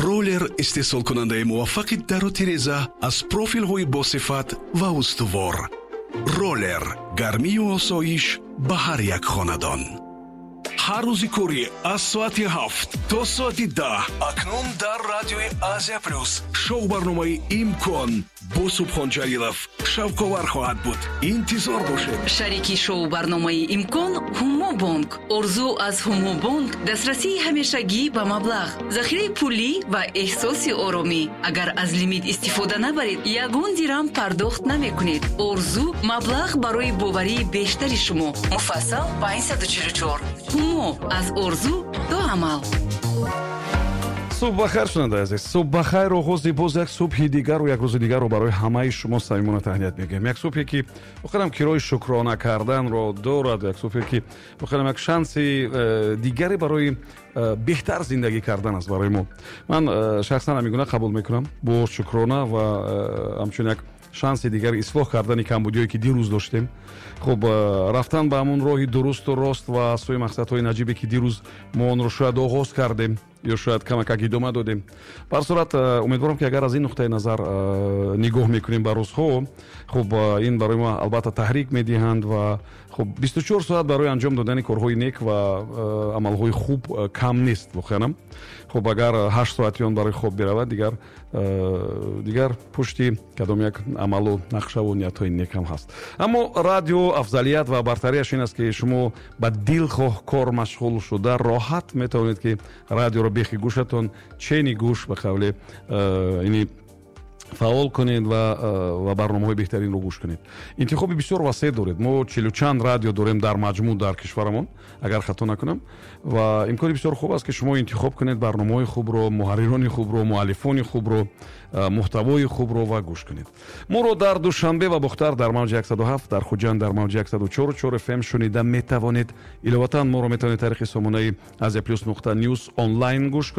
Роллер, истеҳсолкунандаи муваффақи дару тиреза аз профилҳои босифат ва устувор. Роллер, гармию осоиш ба ҳар як хонадон. Ҳар рӯзи корӣ аз соати 7 то соати 10 акнун дар радиои Азия Плюс шоу барномаи «Имкон» бо Субҳон Ҷалилов шавқовар хоҳад буд. Интизор бошед. Шарики шоу барномаи «Имкон» Ҳумобонк. Орзу аз Ҳумобонк: дастрасии ҳамешагӣ ба маблағ, захираи пулӣ ва эҳсоси оромӣ. Агар аз лимит истифода набаред, ягон дирам пардохт намекунед. Орзу: маблағ барои боварии бештари шумо. Муфассал 544. Ҳумо: аз орзу то амал. Субҳ бахайр, шунандаи азиз, субҳ бахайр. Оғози боз як субҳи дигару як рӯзи дигарро барои ҳамаи шумо самимона таҳният мегӯем. Як субҳе, ки воқеан кирои шукрона карданро дорад, як субҳе, ки воқеан як шанси дигаре барои беҳтар зиндагӣ кардан аст барои мо. Ман шахсан ҳамин гуна қабул мекунам, бо шукрона ва ҳамчун як шанси дигари ислоҳ кардани камбудиҳое, ки дирӯз доштем. Хуб, рафтан ба ҳамон роҳи дурусту рост ва сӯи мақсадҳои наҷибе, ки дирӯз мо онро шояд оғоз кардем ё шояд камакак идома додем. Ба ҳар сурат, умедворам, ки агар аз ин нуқтаи назар нигоҳ мекунем ба рӯзҳо, хуб, ин барои мо албатта таҳрик медиҳанд. Ва хуб, 24 соат барои анҷом додани корҳои нек ва амалҳои хуб кам нест воқеанам. Хуб, агар 8 соати он барои хоб биравад, дигар пушти кадом як амалу нақшаву ниятҳои некам ҳаст. Аммо радио афзалият ва бартарияш ин аст, ки шумо ба дилхоҳ кор машғул шуда, роҳат метавонед, ки радиоро бехи гӯшатон, чени гӯш, ба қавле ини, фаъол кунед ва барномаҳои беҳтаринро гӯш кунед. Интихоби бисёр васеъ доред. Мо чилу чанд радио дорем дар маҷмӯъ дар кишварамон, агар хато накунам, ва имкони бисёр хуб аст, ки шумо интихоб кунед барномаҳои хубро, муҳаррирони хубро, муаллифони хубро, муҳтавои хубро ва гӯш кунед. Моро дар Душанбе ва Бохтар дар мавҷи 107, дар Хуҷанд дар мавҷи 104,4 ФМ шунида метавонед. Иловатан, моро метавонед тариқи сомонаи Азия Плюс нуқта ньюс онлайн гӯш.